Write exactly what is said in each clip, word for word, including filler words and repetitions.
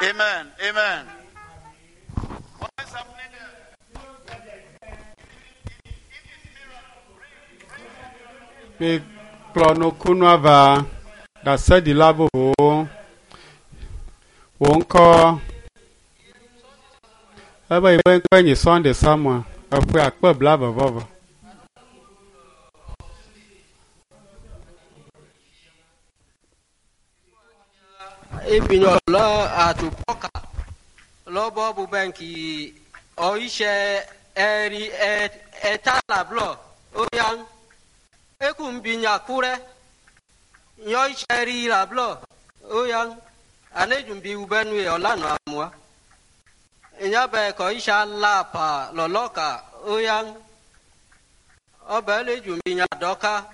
Amen. Amen. What is happening there? Mikplɔ nukunua va ɖaseɖila vovovowo. Wò ŋkɔ ebe yi be ŋkɔe nye Sunday Samuel eƒe akpe blaeve vɔ eve. Ibinyo lɔ atupɔka lɔbɔ bubɛnki ɔyisɛ ɛri ɛtalablɔ oyan ekumbinya kurɛ yɔyisɛ rilablɔ oyan anedzumbi wubɛnue ɔlanu amua nyabɛ kɔyisɛ alapa lɔlɔka oyan ɔbɛ ledzumbinya dɔka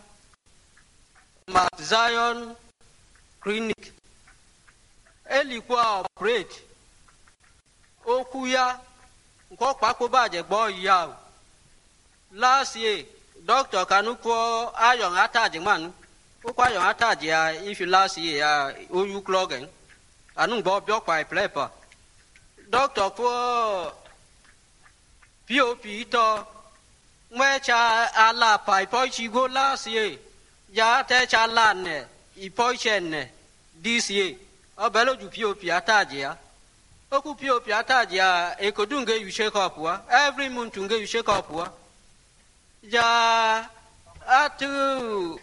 Mount Zion Clinic elikwa operate okwu ya nke ọkpakpo bàjẹ́ gbọ́ ìyá o last year doctor kanu kọ ayọ̀ ataji manu ó kọ ayọ̀ ataji ya ifi last year ya oyu klọgẹ̀ anu gbọ́ bí ọkpa ìpìlẹ̀pà doctor kọ pop tọ nwẹ́cha alapa ìpọ́ìtsígbó last year ya tẹ́cha lanẹ̀ ìpọ́ìtsẹ̀ this year ọbẹ̀ lójú pop ataji ya okwu pop ataji ya ekodu nge yu shake up wa every month nge yu shake up wa ja atu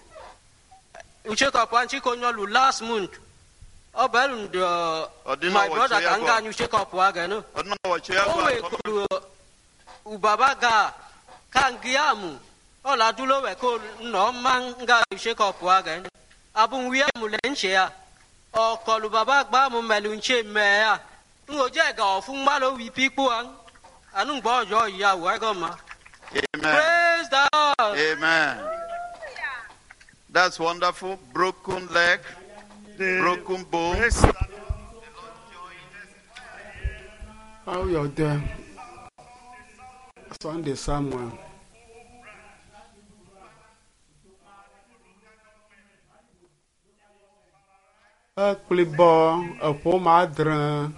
yu shake up wa nchiko nyọlu last month ọbẹ̀ lu ndọ Ọdịna my brother wọchie ka nga ya nyu shake up wa gẹnu Ọdún náà wọ̀ ṣe é o wee kuru ubaba ga ka ngiamu ọla dúró wẹ̀ kó nọ ma nga yu shake up wa gẹnu abunwiamu lẹ́ ń ṣe ya ọkọlù bàbá gbà mú mẹlú ń ṣe mẹ ya n ò jẹ́ ẹ̀gà ọ̀fun má ló wí pípò wa ànú gbọ́ ọ̀yọ́ ìyàwó ẹ̀gọ́ ma. Amen. Praise the Lord. Amen. That's wonderful. Broken leg, broken bone. Praise the How you there? Sunday Samuel. Ekplibɔ eƒome adre.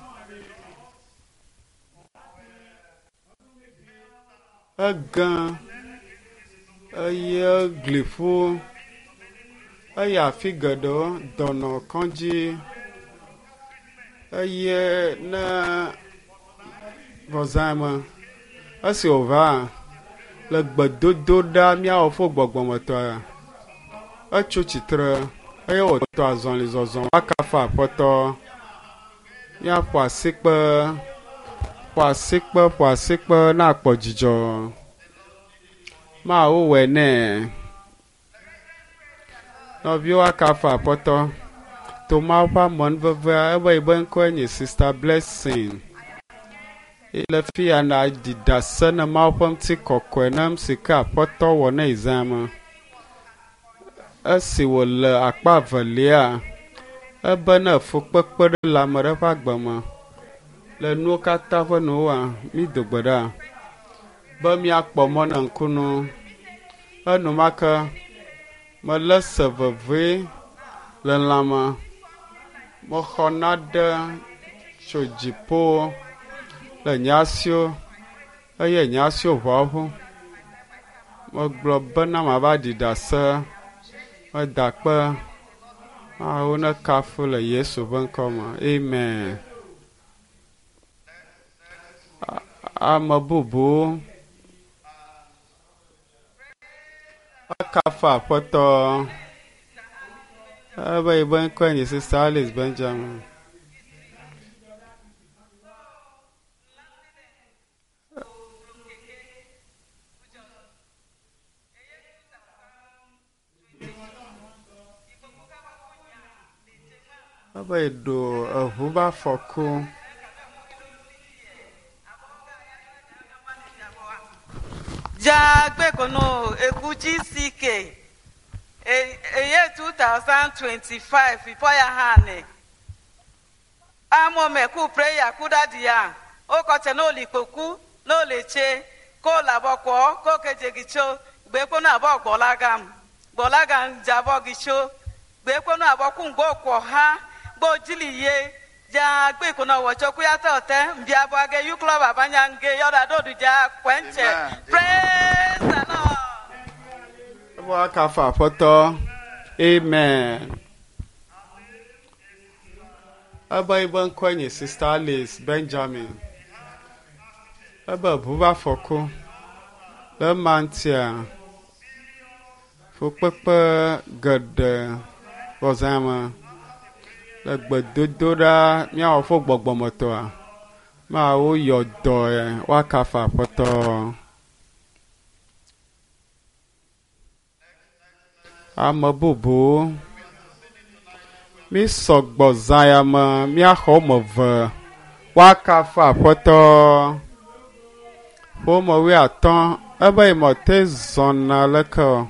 Ege eye gliƒo eye afi geɖewo dɔnɔ kɔdzi eye ne vɔzãme esi wòva le gbedodo ɖa míawɔ fo gbɔgbɔmetɔa etso tsitre eye wòtɔ azɔli zɔzɔ akafa aƒetɔ míaƒo asikpe ƒo asikpe ƒo asikpe na akpɔ dzidzɔ mawu wɔe nɛ nɔviwo akafa aƒetɔ to mawu ƒe amenuvevea ebe yi be ŋkɔe nye Sister Blessing le fi ya na ɖi ɖase ne mawu ƒe ŋutikɔkɔe ne nu si ke aƒetɔ wɔ ne yi me. Esi wòle akpa evelia, ebe ne fukpekpe ɖe le ame ɖe ƒe agbe me le nuwo katã ƒe nuwoa, mído gbe ɖa be míakpɔ mɔ ne ŋkunu. Enumake melé se vevie le lãme. Mexɔ naɖe tso dziƒo le nye asiwo eye nye asiwo ʋua ʋu. Megblɔ bena mava ɖi ɖase. Meda akpe. Mawu nekafu le Yesu ƒe ŋkɔ me. Amen. Ame bubu akafu aƒetɔ. Ebe yi be ŋkɔe nye Sister Alice Benjamin. Ebe yi ɖo eʋu ƒe afɔku. Jagbekono Ekuchi C K eye twenty twenty-five ipoya hane amomeku prayer kudadi ya okoche n'olikpoku n'oleche ko labọkwọ ko kejegicho gbekwonu abọ gbọlagam gbọlagam jabọgicho gbekwonu abọkwu mgbe ọkwọ ha gbojiliye Ja gbe kono wo cho kuya to te mbia bo age yu club abanya nge yoda do du ja kwenche. Amen. Praise the Lord. Ebe woakafu Aƒetɔ. Amen. Ebe yibe ŋkɔe nye Sister Alice Benjamin. Ebe ʋu va afɔku. Le ema ŋutia, fukpekpe geɖe vɔ zã me. Le gbedodoɖa míawɔ fo gbɔgbɔmetɔa, mawo yɔ dɔe woakafu Aƒetɔ. Ame bubuwo mi sɔgbɔ zã ya me míaxɔ woame eve woakafu Aƒetɔ. Ƒome wuiatɔ̃ ebe yi me te zɔna leke o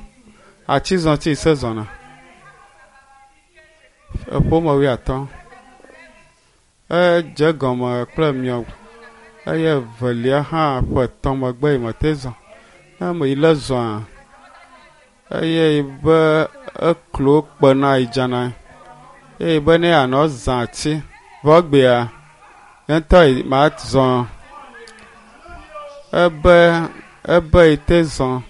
atizɔti se zɔna. Eƒome wuiatɔ̃ edze gɔme kple miɔ eye evelia hã ƒe etɔ̃ megbe yi me te zɔ. Ne ame yi le zɔa eye yi be eklo kpena yi dzana eye be ne yeanɔ zã ati vɔ egbea ye ŋutɔ yi ma zɔ ebe ebe yi te zɔ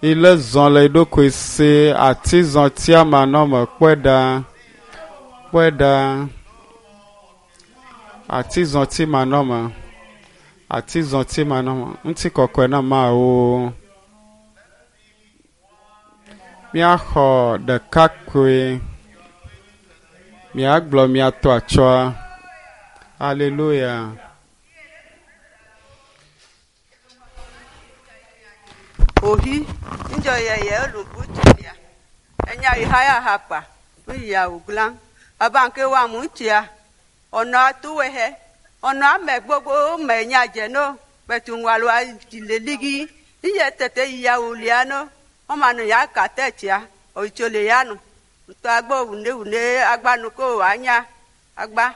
yi le zɔ le yi ɖokui si atizɔtia manɔme kpɔe ɖa kpɔe ɖa atizɔti manɔme atizɔti manɔme ŋutikɔkɔe na Mawu. Míaxɔ ɖekakpui míagblɔ mía tɔ atsɔa. Aleluya. Ohi njɔ yɛyɛ olubu tulia enya yi ha ya ha kpa ya wuglan abanke wa mu tia ɔnɔ atuwe hɛ ɔnɔ ame gbogbo me nya dze no kpɛtu ŋualo le ligi iye tete yi ya wulia no ɔmanu ya ka tɛ tia oyitso le ya nu ŋutɔ agbɔ wune wune agbanu ko anya agba.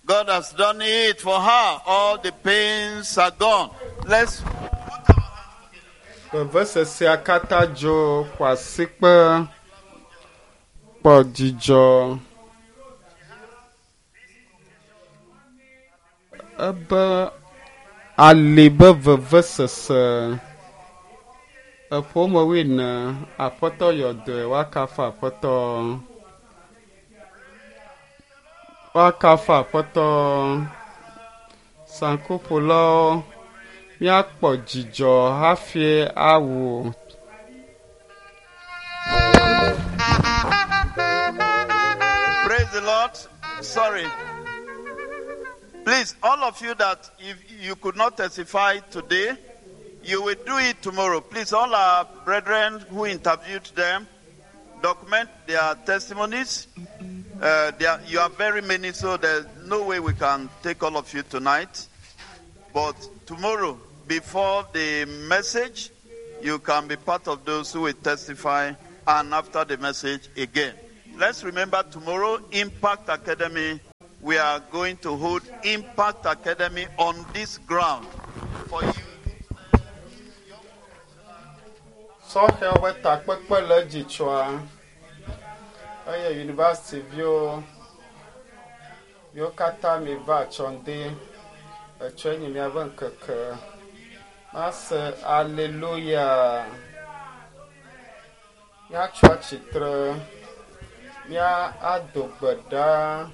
God has done it for her. All the pains are gone. Let's Vevesesea katã dzo ƒo asikpe kpɔ dzidzɔ. Ebe ali be vevesese eƒome wuiene Aƒetɔ yɔ dɔe woakafu Aƒetɔ. Woakafu Aƒetɔ. Saŋkuƒolawo míakpɔ dzidzɔ hafi awu. Praise the Lord. Sorry. Please, all of you that if you could not testify today, you will do it tomorrow. Please, all our brethren who interviewed them, document their testimonies. Uh, there are, you are very many, so there's no way we can take all of you tonight. But tomorrow, before the message, you can be part of those who will testify, and after the message again. Let's remember tomorrow, Impact Academy. We are going to hold Impact Academy on this ground for you. Sɔhɛwo ƒe takpekpe le edzi tsoa eye yunivɛsitiviwo viwo katã miva atsɔŋdi etsɔe nye miaƒe ŋkeke. Mase aleluya. Míatso atsitre, mía ado gbe ɖa.